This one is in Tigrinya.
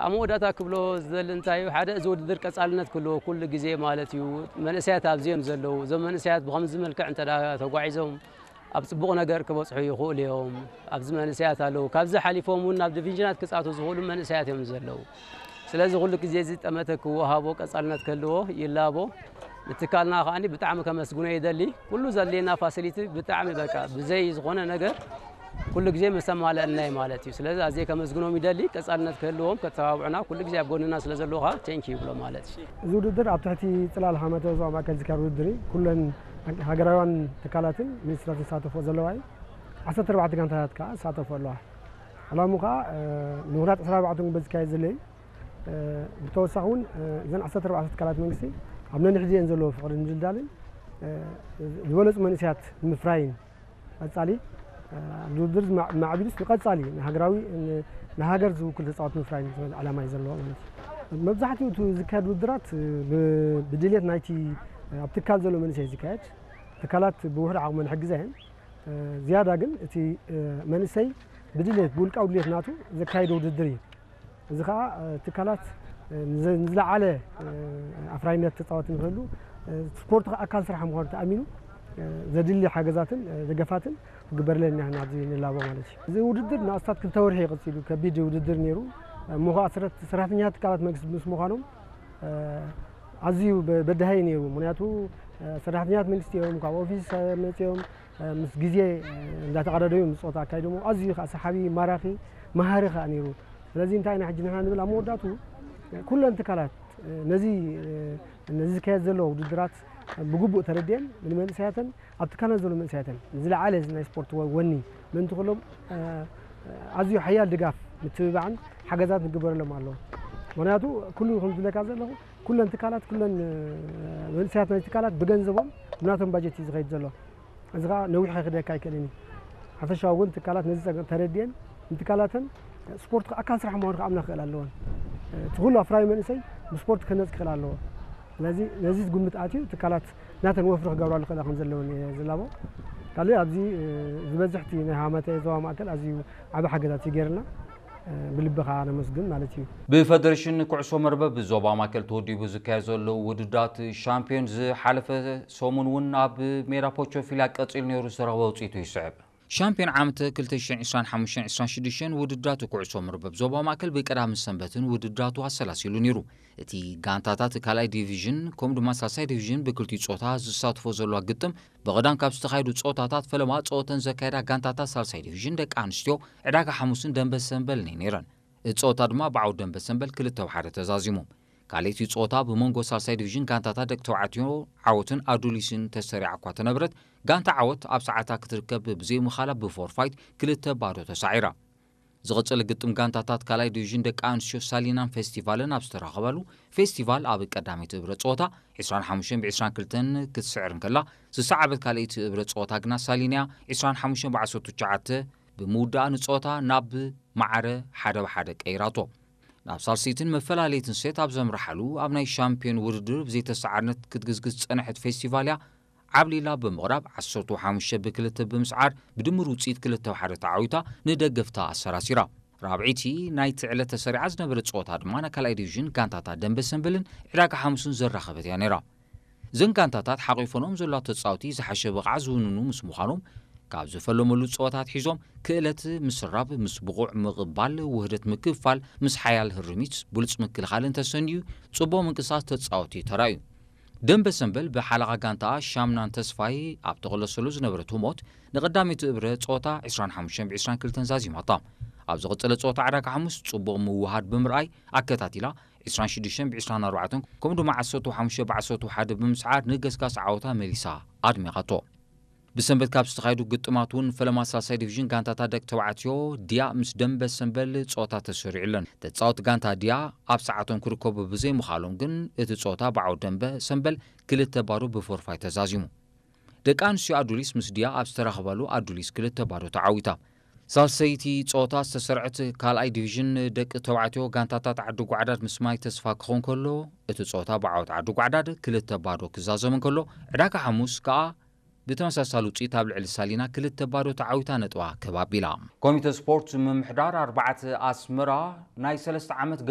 ኣብ መወዳእታ ክብሎ ዝደሊ እንታይ እዩ፣ ሓደ እዚ ውድድር ቀጻልነት ክህልዎ ኩሉ ግዜ ማለት እዩ። መንእሰያት ኣብዚኦም ዘለዉ፣ እዞም መንእሰያት ብኸምዚ መልክዕ እንተ ደኣ ተጓዒዞም ኣብ ጽቡቕ ነገር ክበጽሑ ይኽእሉ እዮም። ኣብዚ መንእሰያት ኣለዉ። ካብዚ ሓሊፎም እውን ናብ ዲቪዥናት ክጻቱ ዝኽእሉ መንእሰያት እዮም ዘለዉ። ስለዚ ኩሉ ግዜ እዚ ጠመተ ክወሃቦ፣ ቀጻልነት ክህልዎ ይላቦ። ንትካልና ከኣ ብጣዕሚ ከመስግኖ ይደሊ። ኩሉ ዘድልየና ፋሲሊቲ ብጣዕሚ በቃ ብዘይ ዝኾነ ነገር ኩሉ ግዜ ምስ ኣማልአልና እዩ ማለት እዩ። ስለዚ ኣዝየ ከመስግኖም ይደሊ። ቀጻልነት ክህልዎም፣ ከተባብዑና፣ ኩሉ ግዜ ኣብ ጎንና ስለ ዘለዉ ከኣ ቴንክ ዩ ይብሎ ማለት እዩ። እዚ ውድድር ኣብ ትሕቲ ጽላል ሃመተ ዞባ ማእከል ዝካየድ ውድድር እዩ። ኩለን ሃገራውያን ትካላትን ሚኒስትራትን ዝሳተፎ ዘለዋ እዩ። ዓሰርተ ኣርባዕተ ጋንታታት ከኣ ዝሳተፎ ኣለዋ። ዕላሙ ከኣ፣ እ፣ ንምኽንያት ዕስራን ኣርባዕተን ጉንበት ዝካየድ ዘሎ እዩ። እ፣ ብተወሳኺ እውን፣ እ፣ እዘን ዓሰርተ ኣርባዕተ ትካላት መንግስቲ ኣብ ነንሕድሕደን ዘለዎ ፍቕሪ ንምድልዳልን፣ እ፣ ዝበለጹ መንእሰያት ንምፍራይን ቀጻሊ፣ እ፣ ውድድር ዝማ-፣ ማዕቢሉስ ንቐጻሊ ንሃገራዊ፣ ን-፣ ንሃገር ዝውክል ተጻወት ምፍራይ ዝብል ዕላማ እዩ ዘለዎ ማለት እዩ። መብዛሕትኡ እቲ ዝካየድ ውድድራት፣ እ፣ ብ-፣ ብድልየት ናይቲ፣ እ፣ ኣብ ትካል ዘሎ መንእሰይ ዝካየድ፣ ትካላት ብውሑድ ዓቕመን ይሕግዛ እየን። እ፣ ዝያዳ ግን እቲ፣ እ፣ መንእሰይ ብድልየት፣ ብውልቃዊ ድልየት ናቱ ዘካይዶ ውድድር እዩ። እዚ ኸኣ፣ እ፣ ትካላት፣ እ፣ ንዘ-፣ ንዝለዓለ፣ እ፣ ኣፍራይነት ተጻወት ንኽህሉ፣ እ፣ ስፖርት ኸኣ ኣካል ስራሕ ምዃኑ ተኣሚኑ፣ እ፣ ዘድሊ ሓገዛትን፣ እ፣ ደገፋትን ክግበርለን ኢና ኣብዚ ንላቦ ማለት እዩ። እዚ ውድድር ንኣስታት ክልተ ወርሒ እዩ ቀጺሉ፣ ከቢድ ውድድር ነይሩ። እሞ ኸኣ ሰረት-፣ ሰራሕተኛታት ትካላት መንግስቲ ምስ ምዃኖም፣ እ፣ ኣዝዩ በ-፣ በዳሂ ነይሩ። ምኽንያቱ፣ እ፣ ሰራሕተኛታት መንግስቲ እዮም፣ ካብ ኦፊስ፣ እ፣ መጺኦም፣ እ፣ ምስ ግዜ፣ እ፣ እንዳተቐዳደዩ ምስ ጾታ ኣካይዶሞ፣ ኣዝዩ ከኣ ሰሓቢ፣ ማራኺ፣ መሃሪ ከኣ ነይሩ። ስለዚ እንታይ ኢና ሕጂ ንሕና ንብል ኣብ መወዳእቱ፣ እ፣ ኩለን ትካላት፣ እ፣ ነዚ፣ እ፣ ነዚ ዝካየድ ዘሎ ውድድራት ብግቡእ ተረዲኤን፣ ንመንእሰያተን ኣብ ትካልና ዘሎ መንእሰያተን ዝለዓለ ናይ ስፖርት ወ-፣ ወኒ ምእንቲ ኩሎም፣ እ፣ ኣዝዩ ሓያል ድጋፍ፣ ምትብባዕን ሓገዛት ንግበረሎም ኣለዎ። ምኽንያቱ ኩሉ ከም ዝብለካ ዘለኹ ኩለን ትካላት፣ ኩለን፣ እ፣ መንእሰያት ናይ ትካላት ብገንዘቦም ብናቶም ባጀት እዩ ዝኸይድ ዘሎ። እዚ ኸኣ ነዊሕ ከይክደካ ኣይክእልን እዩ። ሓፈሻዊ እውን ትካላት ነዚ ጸገም ተረዲኤን ንትካላተን ስፖርት ኣካል ስራሕ ምዃኑ ክኣምና ክኽእል ኣለወን። እቲ ኩሉ ኣፍራይ መንእሰይ ብስፖርት ክህነጽ ክኽእል ኣለዎ። ስለዚ ነዚ ግምት ኣትዩ ትካላት ናተን ወፍሪ ክገብራሉ ክኽእላ ከም ዘለወን እየ ዝላቦ። ካልእ ኣብዚ፣ እ፣ ዝበዝሕ እቲ ናይ ሃመተ ዞባ ማእከል ኣዝዩ ዓቢ ሓገዛት እዩ ገይርና። እ፣ ብልቢ ከኣ ነመስግን ማለት እዩ። ብፈደሬሽን ኩዕሶ መርበብ ዞባ ማእከል ተወዲቡ ዝካየድ ዘሎ ውድዳት ሻምፒዮን ዝሓለፈ ሰሙን እውን ኣብ ሜዳ ፖቾፊላ ቀጺሉ ነይሩ ዝተረኽበ ውጽኢቱ ይስዕብ። ሻምፒዮን ዓመት ክልተ ሽሕን ዕስራን ሓሙሽተን ዕስራን ሽዱሽተን ውድዳት ኩዕሶ መርበብ ዞባ ማእከል ብቀዳምን ሰንበትን ውድዳቱ ኣሰላሲሉ ነይሩ። እቲ ጋንታታት ካልኣይ ዲቪዥን ከምኡ ድማ ሳልሳይ ዲቪዥን ብክልቲኡ ጾታ ዝሳተፎ ዘለዋ ግጥም ብቐዳም ካብ ዝተኻየዱ ጸወታታት ፈለማ ጸወተን ዘካየዳ ጋንታታት ሳልሳይ ዲቪዥን ደቂ ኣንስትዮ ዕዳጋ ሓሙስን ደንበ ሰንበልን እየን ነይረን። እቲ ጸወታ ድማ ብዓወት ደንበ ሰንበል ክልተ ብ ሓደ ተዛዚሙ። ካልኣይቲ ጸወታ ብመንጎ ሳልሳይ ዲቪዥን ጋንታታት ደቂ ተባዕትዮ ዓወትን ኣዱሊስን ተሰሪዓ እኳ ተነበረት፣ ጋንታ ዓወት ኣብ ሰዓታ ክትርከብ ብዘይምኻላ ብፎርፋይት ክልተ ባዶ ተሳዒራ። ዝቕጽል ግጥም ጋንታታት ካልኣይ ዲቪዥን ደቂ ኣንስትዮ ሳሊናን ፌስቲቫልን ኣብ ዝተራኸባሉ፣ ፌስቲቫል ኣብ ቀዳመይቲ እብረ ጸወታ ዕስራን ሓሙሽተን ብ ዕስራን ክልተን ክትስዕር እንከላ፣ ዝሰዓበት ካልኣይቲ እብረ ጸወታ ግና ሳሊንያ ዕስራን ሓሙሽተን ብ ዓሰርተ ትሽዓተ ብምውዳኣ ንጸወታ ናብ ማዕረ ሓደ ብ ሓደ ቀይራቶ። ናብ ሳልሰይትን መፈላለይትን ሴት ኣብ ዘምርሓሉ፣ ኣብ ናይ ሻምፒዮን ውድድር ብዘይተሰዓርነት ክትግዝግዝ ዝጸንሐት ፌስቲቫልያ ዓብሊላ ብምቕራብ ዓሰርተ ሓሙሽተ ብ ክልተ ብምስዓር ብድምር ውጽኢት ክልተ ብ ሓደ ተዓዊታ ንደገፍታ ኣሰራሲራ። ራብዐይቲ ናይቲ ዕለት ተሰሪዓ ዝነበረት ጸወታ ድማ ናይ ካልኣይ ዲቪዥን ጋንታታት ደንበ ሰንበልን ዕዳጋ ሓሙስን ዘራኸበት እያ ነይራ። እዘን ጋንታታት ሓቒፈንኦም ዘለዋ ተጻወቲ ዝሓሸ ብቕዓት ዝውንኑ ምስ ምዃኖም፣ ካብ ዝፈለመሉ ጸወታ ኣትሒዞም ክእለት ምስራብ፣ ምስ ብቑዕ ምቕባል፣ ውህደት ምክፍፋል፣ ምስ ሓያል ህርሚት፣ ብሉጽ ምክልኻልን ተሰንዩ ጽቡቕ ምንቅስቓስ ተጻወቲ ተራእዩ። ደንበ ሰንበል ብሓለቓ ጋንታኣ ሻምናን ተስፋይ ኣብ ተቕለሰሉ ዝነበረት ህሞት ንቐዳመይቲ እብረ ጸወታ ዕስራን ሓሙሽተን ብ ዕስራን ክልተን ዛዚማታ። ኣብ ዝቕጽለ ጸወታ ዕዳጋ ሓሙስ ጽቡቕ ምውሃድ ብምርኣይ ኣከታቲላ ዕስራን ሽዱሽተን ብ ዕስራን ኣርባዕተን ከምኡ ድማ ዓሰርተ ሓሙሽተ ብ ዓሰርተ ሓደ ብምስዓር ንገስጋስ ዓወታ መሊሳ ኣድሚቓቶ። ብሰንበት ካብ ዝተኻየዱ ግጥማት እውን ፈለማ ሳልሳይ ዲቪዥን ጋንታታት ደቂ ተባዕትዮ ድያ ምስ ደንበ ሰንበል ጸወታ ተሰሪዑለን። ተጻወቲ ጋንታ ድያ ኣብ ሰዓቶም ክርከቡ ብዘይምኻሎም ግን እቲ ጸወታ ብዓወት ደንበ ሰንበል ክልተ ባዶ ብፎርፋይ ተዛዚሙ። ደቂ ኣንስትዮ ኣዱሊስ ምስ ድያ ኣብ ዝተራኸባሉ ኣዱሊስ ክልተ ባዶ ተዓዊታ። ሳልሰይቲ ጸወታ ዝተሰርዐት ካልኣይ ዲቪዥን ደቂ ተባዕትዮ ጋንታታት ዓዲ ጓዕዳድ ምስ ማይ ተስፋ ክኸውን ከሎ፣ እቲ ጸወታ ብዓወት ዓዲ ጓዕዳድ ክልተ ባዶ ክዛዘም እንከሎ፣ ዕዳጋ ሓሙስ ከኣ ብተመሳሳሊ ውጽኢት ኣብ ልዕሊ ሳሊና ክልተ ባዶ ተዓዊታ ነጥባ ክብ ኣቢላ። ኮሚተ ስፖርት ምምሕዳር ኣርባዕተ ኣስመራ ናይ ሰለስተ ዓመት